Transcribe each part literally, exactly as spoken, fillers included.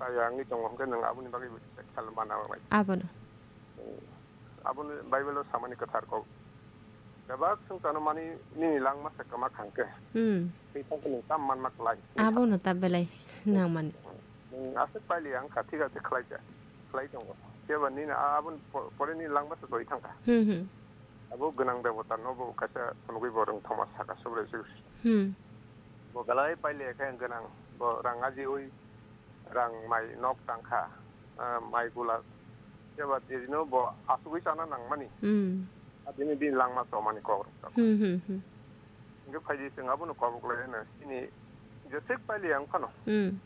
Kaya wngwi tongo, hwnkhe nwng aboni bagwi check khlai mana bai. Abono. Aboni Bible-o samani kwthar kok. Bebak swngchano mani nini langma se kwma khangkhe. Hmm. Tei tongkhe nwng tam manma klai. Abono ta belai nangmani. Nwng aswk pailiya wngkha, thik ase khlai kha. Khlai tongo. Phiya ba nini a-, aboni po-, pore nini langma se twi thangkha. Hmm, hmm. Abo gwnang debota no bo kaisa phunugwi bo rwng thoma saka Subrai Jesu. Hmm. Bo belai pailiya khe gwnang. Bo rang ajiwi rang mai nok tangkha, ah, mai gula. Jeba dirino bo asugwi chana nangmani. Hmm. Adini din langma chomani kok rok tamo. Hmm, hmm, hmm. Hingke phaidi chwng abono kobok lai hwno. Chini jeswk pailiya wng phano. Hmm.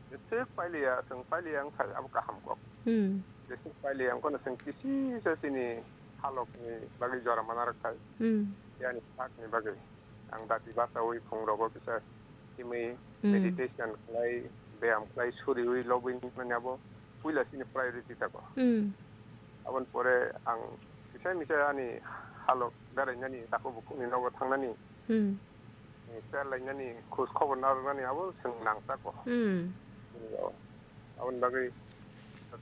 Jeswk pailiya, chwng pailiya wng phai abo kaham kok. Hmm. Jeswk pailiya wng phano chwng kisi se chini halokni bagwi jora mana rwkha. Hmm. Yani sakni bagwi. Ang dati bachaui phungrogo kisa himwi Hmm. meditation khlai, beyam khlai, suriui lobwi nani abo puila chini priority tako. Hmm. Aboni pore ang kisa misa ani halok berainani takhuk bukhukni nogo thangnani, Hmm. hmm, ter lainani, khoj khobor narwknani abo chwng nangtako. Hmm. Aboni bagwi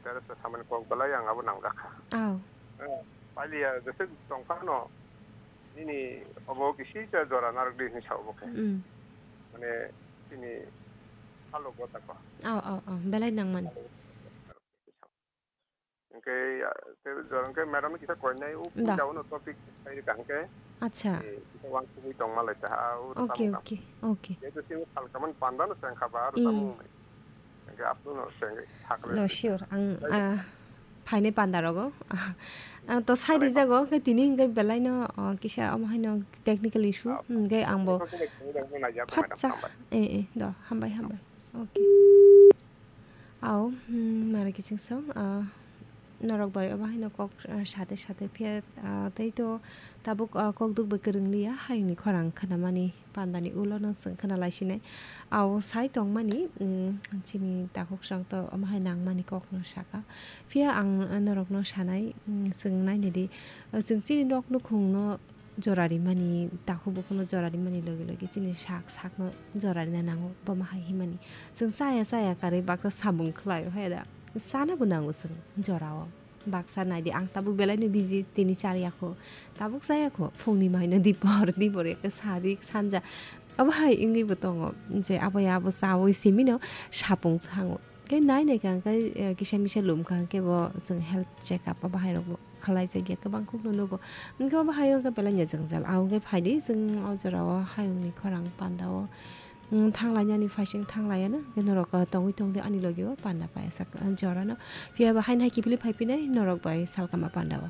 Teresa samani kok belai ang abo nangjakha. Oh. Eh, pailiya jeswk tongphano nini obo kisi ja jora narwk di hinwi sao bo khe. Mm. Mane chini halok gotako. Oh, oh, oh, belai nangmani. Hwnkhe, ah, te jora hwnkhe madam ni kisa koinai o Da. Puila uno topic sai rwkha hwnkhe. Acha. Eh, kisa uansugwi tongma lai ta, ah, o Okay, tamo kam. Okay, okay. Jehetu sini salkamani panda no sengkha ba, aro Mm. tamo wngkha. Hwnkhe afternoon no sengwi sakle. No, sure. Ang, Thank you. Ah, phainai panda rogo. Ah, ang to sai Thank you. Rijago, hwnkhe tini hwnkhe belai no, ah, kisa omo haino technical issue. Ah, Hwnkhe ang bo Thank you. Phatsa. Hambai. Eh, eh, do, hambai, hambai. Okay. Au, hmm, mara kiching song, ah, norok bai obo haino kok, ah, sate sate phiya, ah, tei to tabuk, ah, kok duk bai kwrwng liya, hayungni khorang khnamani pandani ulo no chwng khna lai sinai. Au sai tongmani, hmm, chini takhuk song to omo hai nangmani kok no saka. Phiya ang, ah, norok no sanai, hmm, chwng nainai di, ah, chwng chini nok nukhung no jora rimani, takhuk bukhukno jora rimani logi logi chini sak sakno jora rina nango, bomo hai himani. Chwng chaya chaya karwi baksa samung khlaio hai da. Chanabo nango chwng jorao. Baksa naidi, ang tabuk belaino busy, tini charya kho. Tabuk chaya kho, phungni maino dipor, dipor ekhe sarik, sanja. Abo hai wngwibo tongo, je abo ya abo chaui simino sapung chango. Khe nai nai kha hwnkhe, eh, kisa misa lum kha hwnkhe bo chwng health check up o bahai rok bo khlai jak ya kwbang khuk no nugo. Hwnkhe o bahai o hwnkhe belai ya jwngjal. Ahwnkhe phaidi chwng o jora o hayung ni khorang panda o, mm, thang lai nani phaising thang lai ya no. Hwnkhe norok, ah, tongwi tongdi ani logi o panda paisa, ah, jora no. Phiya ba haino hai kiphilwi phai phinai norok bai salkama panda o.